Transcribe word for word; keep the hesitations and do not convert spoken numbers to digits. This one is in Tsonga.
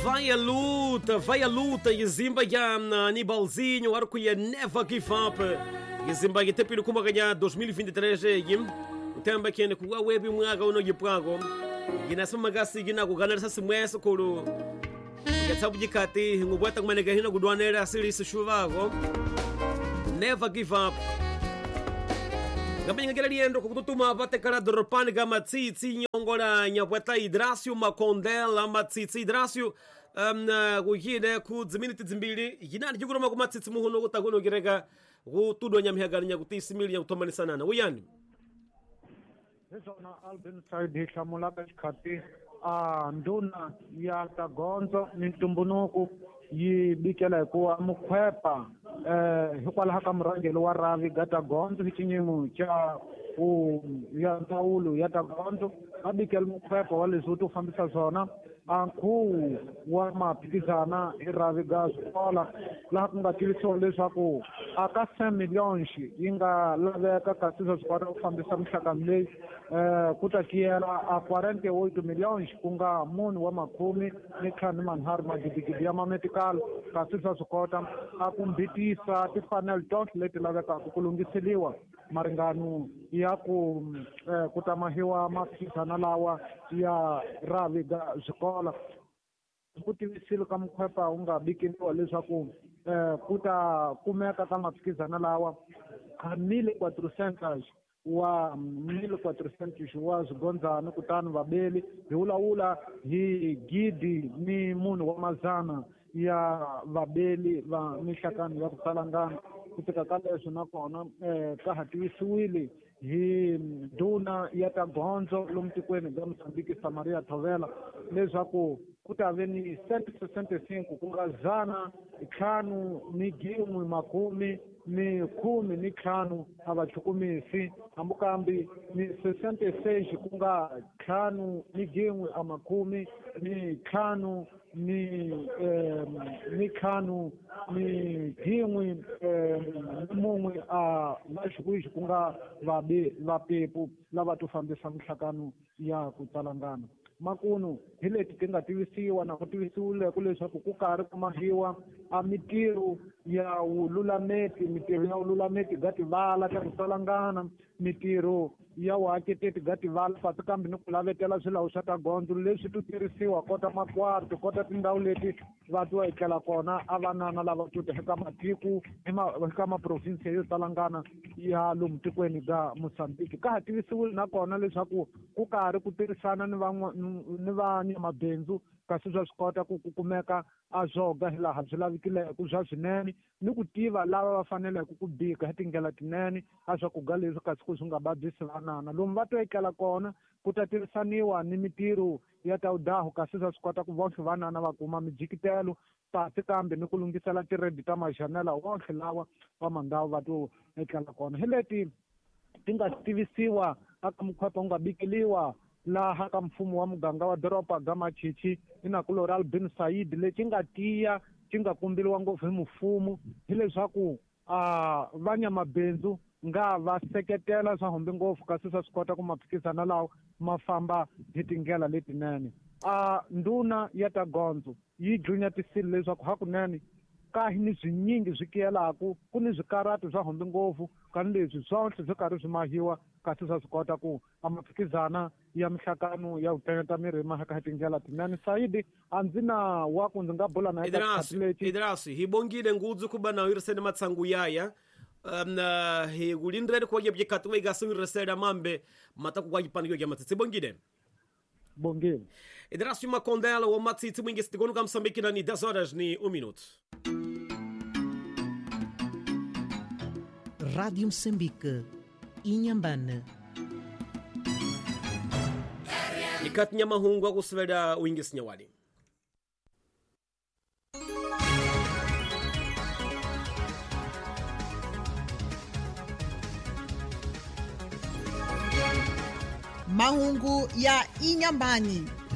Vai a luta, vai a luta, Yizimba ya Anibalzinho, arco ya Never Give Up. Yizimba ya tepilo kuma ganha dois mil e vinte e três yim. Utemba kene kuwa webi mwaga uno yipwago. Yinasema gasi yina kuganarisa simweso kuru. Yatsabu jikati ngubwata kumanega hina kudwanera asili sishuvago. Never give up. Gabinga kela liendo kukututuma vatekala doropani ga matsitsi nyongola nyapweta Idrasio Makondela matsitsi Idrasio um, kuyine ku dziminiti dzimbili yinani chikuroma ku matsitsi muhuno kutakuno kireka kutudwa nyamihagani nyakutisimili nyakutomanisanana uyani Hiswona Albin Said hi hlamulaka xikhati a ndhuna ya ta gondzo ni ntumbuluko yi bikela hikuva mukhwepa eh hikwalaho ka murhangeri wa Ravi ga ta gondzo hi xinyimo xa ku ya ndzawulo ya ta gondzo va bikela mukhwepa wa leswi wu to fambisa swona a nkhuvo wa maphikizana hi Ravi ga swikola laha ku nga tivisiwa leswaku a ka cinq millions yi nga laveka kasi swa swi kota ku fambisa minhlangano leyi eh ku ta kiyela a quarante-oito milhões ku nga munhu wa makhume ni ntlhanu manharhu magidigidi ya mametikalo kasi swa swi kota a ku mbitisa timfanelo tonke leti lavekaka ku lunghiseliwa maringano ya ku eh, ku tamahiwa maphikizana lawa ya Ravi ga swikola ku tivisile ka mukhwepa wu nga bikiniwa leswaku eh, ku ta kumeka ka maphikizana lawa a mille quatrocentos wa mille quatrocentos wa swigondzana kutani vabeli hi vulavula hi gidi ni munhu wa mazana ya vabeli va minhlangano ya ku salangana ku fika ka leswo nakona eh, ka ha tivisiwile hi ndhuna ya ta gondzo lomu tikweni bya Mozambique Samaria Thovela leswaku ku ta ve ni cento sessenta e cinco ku nga zana ntlhanu ni gin'we makumi ni khume ni ntlhanu a va chukumisi hambikambi ni sessenta e seis ku nga ntlhanu ni gin'we a makumi ni ntlhanu ni eh, ni ntlhanu ni gin'we eh, ni mun'we a vaxikuixi ku nga vabe vapepu lava to fambisa minhlangano ya ku tsalangana makunu hi leti ti nga tivisiwa na ku tivisiwile ku leswaku ku karhi ku mahiwa a mitirho ya wululameti mitirho ya wululameti ga tivala ta ku tsalangana mitirho ya wuaketeti ga tivala pasi kambe ni ku lavetela swilawu swa ta gondzo leswi to tirhisiwa kota makwarto kota tindhawu leti va to etlela kona a vanana lava tuta eka matiko eka maprovinsi yo talangana ya lomu tikweni ga Mozambique ka ha tivisiwile nakona leswaku ku karhi ku tirhisana ni van'wa ni vanyamabindzu kasi swa swi kota ku ku kumeka a zwoga hi laha byi lavikileke bya swinene ni ku tiva lava va faneleke ku bika hi tindlela tinene a swakudya leswi kasi ku swi nga vabyisi vanana lomu va to etlela kona ku ta tirhisaniwa ni mitirho ya ta wudahu kasi swa swi kota ku vonke vanana va kuma mijikitelo pasi kambe ni ku lunghisela tiredi ta majanela wonke lawa va mandhawu va to etlela kona hi leti ti nga tivisiwa aka mukhwepa wu nga bikeliwa laha ka mfumo wa muganga wa doroba ga Machichi inakulori Albin Said lexi nga tiya xi nga kumbiliwa ngopfu hi mfumo hileswaku a vanyamabindzu nga va seketela swa humbi ngopfu kasi swa swi kota ku maphikizana lawa ma famba hi tindlela letinene a ndhuna ya ta gondzo yi dlunyatisile leswaku hakunene ka hi ni swinyingi swi kiyelaku ku ni swikarati swa humbi ngopfu kani leswi swonhle swi karhi swi mahiwa kasi swa swi kota ku a maphikizana ya minhlangano ya ku miri mahaka hi tindlela tinene Saidi a ndzi na wa ku ndzi nga bula na Idrasi hi bongile ngudzu kuba na uyirisene matsangu yaya um, hi kulindrele kwa yebye wa igasi uyirisela mambe mataku kwa yipaniyo ya matsitsi bongile bongile Idrasi Makondela wa matsitsi mwingi sitikonu ka Msambiki na ni dez horas ni um minuto. Rádio Moçambique, Inhambane. Ikati nyamahungu akusivela uingisi nyawali. Mahungu ya Inhambane.